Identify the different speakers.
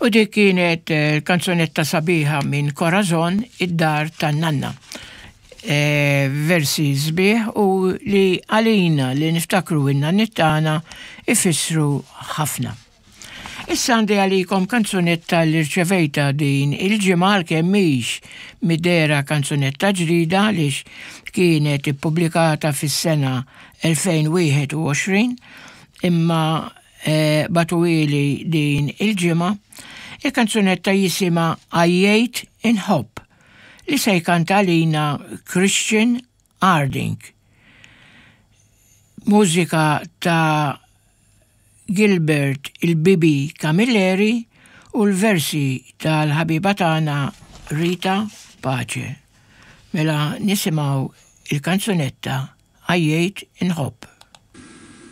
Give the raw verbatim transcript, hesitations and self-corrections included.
Speaker 1: U dik kienet eh, kanzunetta sabiħa minn Corazon, Id-Dar tan-Nanna. E, versi sbieħ u li għalina li niftakru in-nanniet tagħna ifissru ħafna. Issa għandi għalikom kanzunetta li rċevejta din il-ġimgħa, għalkemm mhix midera kanzunetta ġdida għaliex kienet ippubblikata fis-sena elfejn u wieħed u għoxrin, imma e, bagħtuhieli din il-ġimgħa. Il-kanzunetta jisimha Għajjejt Inħobb, li se jkanta għalina Christian Harding. Mużika ta' Gilbert il-Bibi Camilleri u l-versi tal-ħabiba tagħna Rita Pace. Mela nisimgħu il-kanzunetta Għajjejt Inħobb.